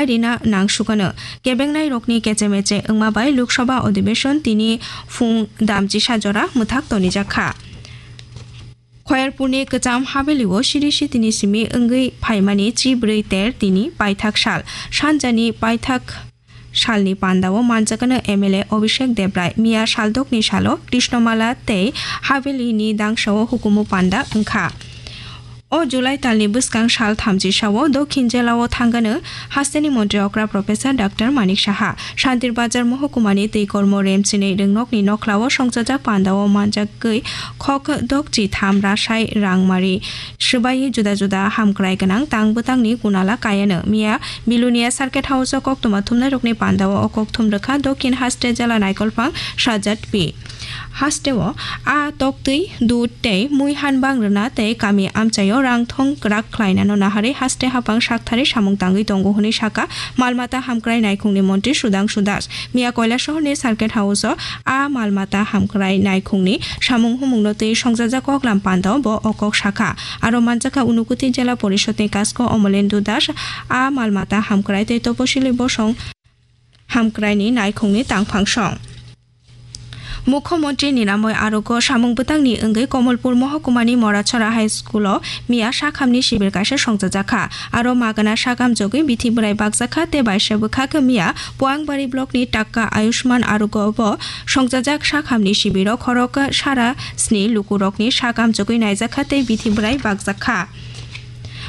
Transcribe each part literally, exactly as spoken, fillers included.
rina nangsukano. Kebengnai rokni keche meche wngma bai Lok Sabha Adhibeshon tini phung damchisa jora mwthak tonijakha. Khoyerpurni kwcham Havelio siri sitini simi wngwi phaimani chibrwi ter tini paithak sal. Sanjani paithak salni pandao manjakano M L A Abhishek Debrai. Miya saldokni salo Krishnamala tei Havelini dangsao hukumu panda wngkha. O July talni bwskang sal thamchi sao Dokhin jelao thangano hasteni montri okra Professor Doctor Manik Saha. Santir Bazar mohokumani twi kormo remchini ringnokni nokhlao songchajak pandao manjagwi khok dokchi tham rasai rangmari swbai juda juda hamkrai gwnang tang bwtangni kunala kayano. Miya Bilonia Circuit House o koktwma thumnairokni pandao o kokthum rwkha Dokhin Haste jela naikolphang Sajat P. Hasteo a toktwi dud tei mui hanbang rwna tei kami amchaio rangthong kwrak khlainano naharwi haste haphang sakthari samung tangwi tongo hwnwi sakha mal mata hamkrai naikhungni montri Sudhangshu Das. Miya Koilashahorni Circuit House o a mal mata hamkrai naikhungni samung humungno twi songjajak koklam pandao bo o kok sakha. Aro manjakha Unakoti Jela Porishodni Kasko Omolendu Das a mal mata hamkrai tei Toposili Bosong hamkraini naikhungni tangphang song. Mukhyamantri Niramoy Arogya samung bwtangni wngwi Komolpur mohokumani Morachora High School o miya sakhamni sibir kaisa songchajakha. Aro magana sakam jogwi bithi bwrai bakjakha tei baisa bwkhak miya Puangbari blockni Takka Ayushman Arogya bo songjajak sakhamni sibiro khorok sara sni lukurokni sakam jogwi naijakha tei bithi bwrai bakjakha.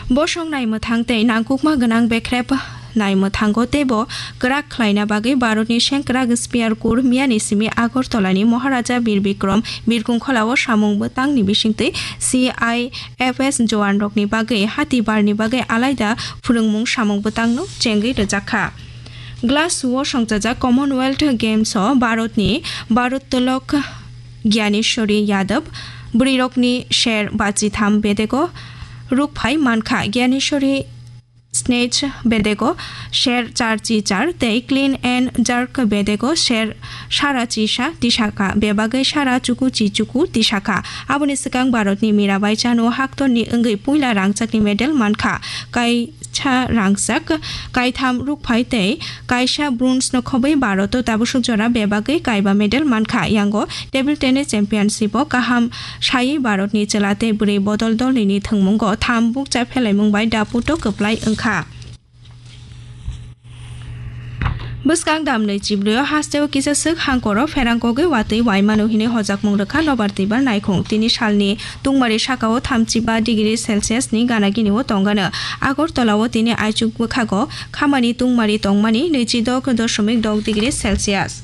Bosong naimwthang tei nangkukma gwnang bekrep naimwthango teibo kwrak khlaina bagwi Bharatni sengkwrak Spear Corps miyani simi Agartalani Maharaja Bir Bikram Birkungkholao samung bwtangni bisingtwi C I F S jowanrokni bagwi hati barni bagwi alaida phwrwngmung samung bwtangno chengwi rwjakha. Glasgow-o songchajak Commonwealth Games-o Bharatni Bharottolok Gyaneshwari Yadav bwrwirokni ser bachitham bedego rukphai mankha. Gyaneshwari snatch bedego ser char chi char tei clean and jerk bedego ser sara chi sa tisakha, bebagwi sara chuku chi chuku tisakha. Aboni swkang Bharatni Mirabai Chanu haktorni wngwi puila rangchakni medal mankha. Kaisa rangchak, kaitham rukphai tei kaisa bronze no khobwi Bharat o tabuk jora bebagwi kaiba medal mankha. Yango table tennis championship o kaham saywi Bharatni chwla tei bwrwi bodol dolnini thwngmungo tham bukcha phelaimung bai daputo kwplai wngkha. Bwskang damnwi chibrwi o hasteo kisa swk hangkoro pherang kogwi watwi waimano hinwi hojakmung rwkha nobar twibar naikhung. Tini salni tungmari sakao thamchi ba degree Celsius ni gana gini o tongano. Agartala o tini aichuk bwkhago khamani tungmari tongmani nwichi dok doshomik dok degree Celsius.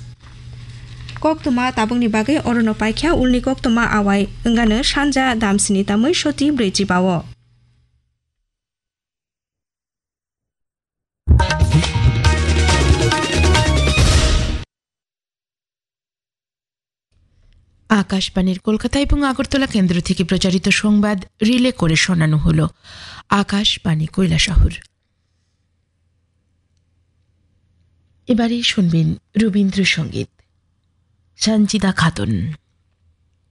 Koktwma tabukni bagwi orono paikha, ulni koktwma awai wngano sanja damsini tamwi soti brwi chibao. আকাশবাণীর কলকাতা এবং আগরতলা কেন্দ্র থেকে প্রচারিত সংবাদ রিলে করে শোনানো হলো আকাশবাণী কৈলাসহর। এবারে শুনবেন রবীন্দ্রসঙ্গীত। সানজিদা খাতুন।